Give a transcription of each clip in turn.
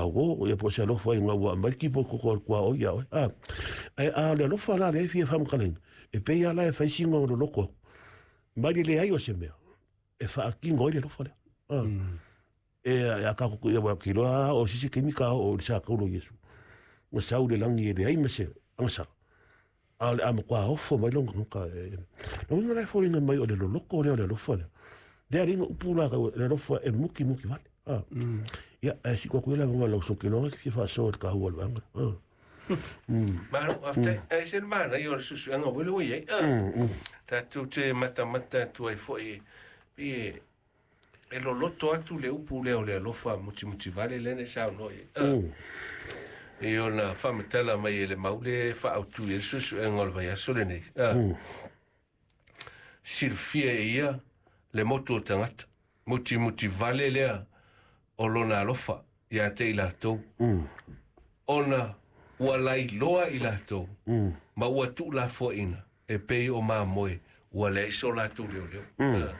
gauō, ia po o se alofa ina ua aumai le tipo koko a le tuaoi ia oe. A, ae a o le alofa la lea e fia faamatalaina, e pei lava la e fai sina o loloto atu, mai le leai o se mea e faatino ai le alofa lea. A, e a tatou ia ua iloa lava o se isi taimi ta oo i le sa taulo o Iesu, na sau i le lagi e leai ma se agasala, a o le a matua ofo mai lona tagata. Lona uiga la e foliga mai o le loloto lea o le alofa lea. Lea alii na upu la le alofa e muti muti vale. Ah. Ia, ae siko atu ia le avanoa i lau Sokiloga e fia faasoa i le taua o le vaega. Ah. Malo, faafetai. Ae se le manaia o le suesuega foi lea ua i ai. Tatou te matamata atu ai foi pe e loloto atu le upu lea o le alofa mutimuti vale lea na e saunoa i ai. I ona faamatala mai e le mau le faaautu i ai le suesuega o le vaiaso lenei. Silafia e ia le motu o tagata. Mutimuti vale lea o lona alofa ia te i latou. Ona ua lailoa i latou ma ua tuulafoaina e pei o mamoe ua leai so latou leoleo.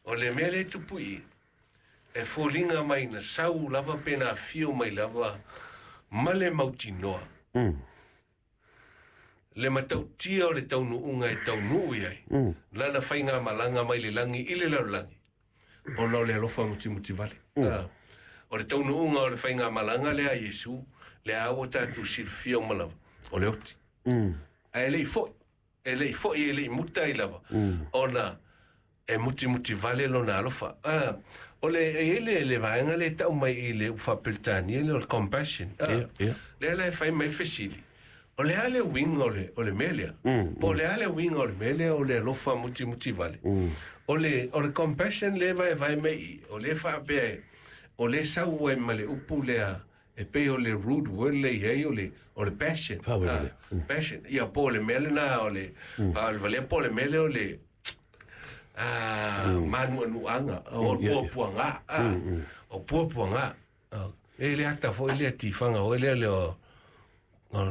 O le mea lea e tupu i i, e foliga mai na sau lava pe na afio mai lava ma le mautinoa. Le matautia o le taunuuga e taunuu i ai, lana faigamalaga mai le lagi i le lalolagi, ona o le alofa mutimuti vale. O le taunuuga o le faigamalaga lea a Iesu, lea ua tatou silafia uma lava, o le oti. Ae le i foi, e le i foi, e le i muta ai lava, ona e mutimuti vale lona alofa. O le, e i ai le vaega lea e tau mai i le upu faa-Peretania lea o le compassion. Lea la e fai mai fesili. O le a le uiga o le mea lea? Po o le a le uiga o le mea lea o le alofa mutimuti vale? O le compassion lea e vaevae mai i, o lea faapea o lea sau ai ma le upu lea e pei o le root word le i ai o le passion. Faavavale. Passion. Ia po o le mea lena o le, o le valea po o le mea lea o le manuanuaga o puapuaga. O puapuaga. E le ata foi lea tifaga foi lea le o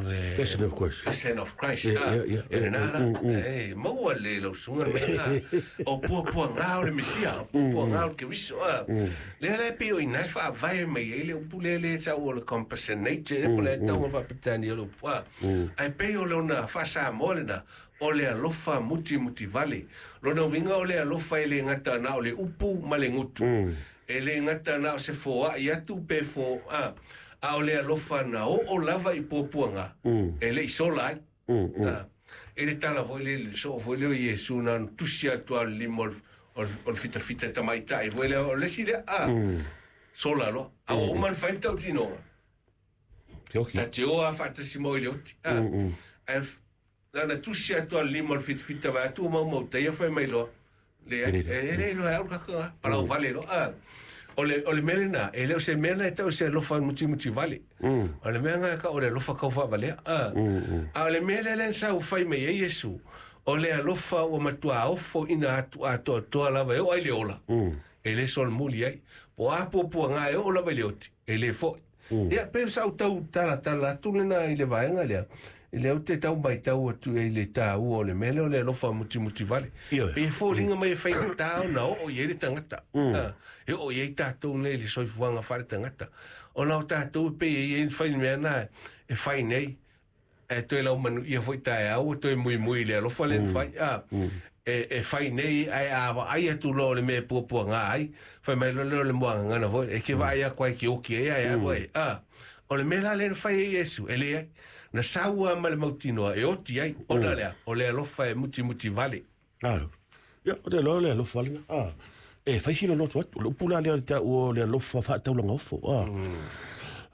le Passion of Christ. Passion of Christ. Yeah. E lena la. E maua le lausuga le mea. O puapuaga o le Mesia, o puapuaga o le Keriso. Lea la e pei o ina e faavae mai ai le upu lea le sau o le compassionate, e po le tauga faapetania o le upu. Ae pei o lona faa-Samoa lena, o le alofa mutimuti vale. Lona uiga o le alofa e le gata na o le upu ma le gutu. E le gata na o se foai atu pe fo, a o le alofa na oo lava i puapuaga, e le i sola ai. E le tala foi le le soo foi lea o Iesu na ona tusi atu a le lima o le fitafita tamaitai foi lea o le isi lea, sola loa. A ua uma ona fai le tautinoga, Ke oki. ta te o a faatasi mo i le oti. Ae lana tusi atu a le lima o le fitafita vai atu o maumautaia fai mai loa. Le, e le loa e au kaka, palau vale loa. O le mea lena, e le o se mea na e tau se alofa mutimuti vale. O le mea nga ka o le alofa kau faavalea. A o le mea lea lea sa ufai mai ai Iesu, o le alofa ua matua ofo ina atu atoatoa lava e oo ai le ola. E le solomuli ai. Po a puapuaga e oo lava i le oti, e le foi. Ia, pe sa ou tau talatala atu lena i le vaega lea. I lea ou te tau matau atu i le taua o le mea lea o le alofa mutimuti vale. Pe e foliga mai e faigata ona oo i ai le tagata. E oo i ai tatou nei le soifuaga faale-tagata. Ona o tatou e pei e i ai fai le mea na e fai nei, e toe lau manuia foi taeao ua toe muimui i le alofa lea na fai. E fai nei ae a vaai atu loa o le mea e puapuaga ai, fai mai loa lea o le muagagana foi, e ke vaai atu ai ke oki ai ae alu ai. O le mea la lea na fai ai Iesu, e leai. Na sau lava ma le mautinoa e oti ai, ona lea, o le alofa e mutimuti vale. Alo. Ia, o te loa le alofa lena. E fai sila loto atu. Le upu la lea o le taua o le alofa faataulaga ofo.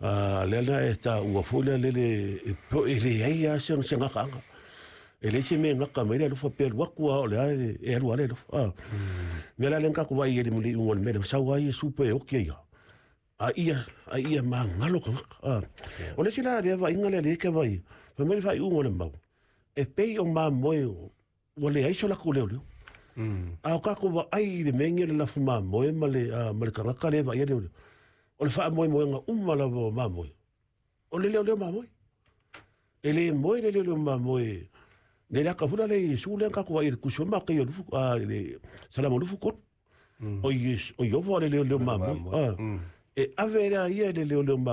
Lea la e taua foi lea lele e po e leai lava se gakaaga. E leai se mea e gaka mai le alofa pe alu atu lava o le a e alu lava le alofa. Mea la lea na tatou vaai ai i le iuga o le mea lea, sau ai Iesu pe oti ai lava. A ia magalo tagata. O le isi la lea vaaiga lea lea e te vaai, fai mai le faaiuga o le mau, e pei o mamoe ua leai so latou leoleo. A o tatou vaai i le mea lenei o le lafu mamoe ma le tagata lea e vaaia leoleo. O le faamoemoega uma lava o mamoe, o le leoleo mamoe. E le moe le leoleo mamoe. Le aka foi la le Iesu lea na tatou vaai i le tusi o Matai o lufu, le Salamo 23. O Iesu, o Iofa o le leoleo mamoe. E ave lea ia i le leoleo mamoe.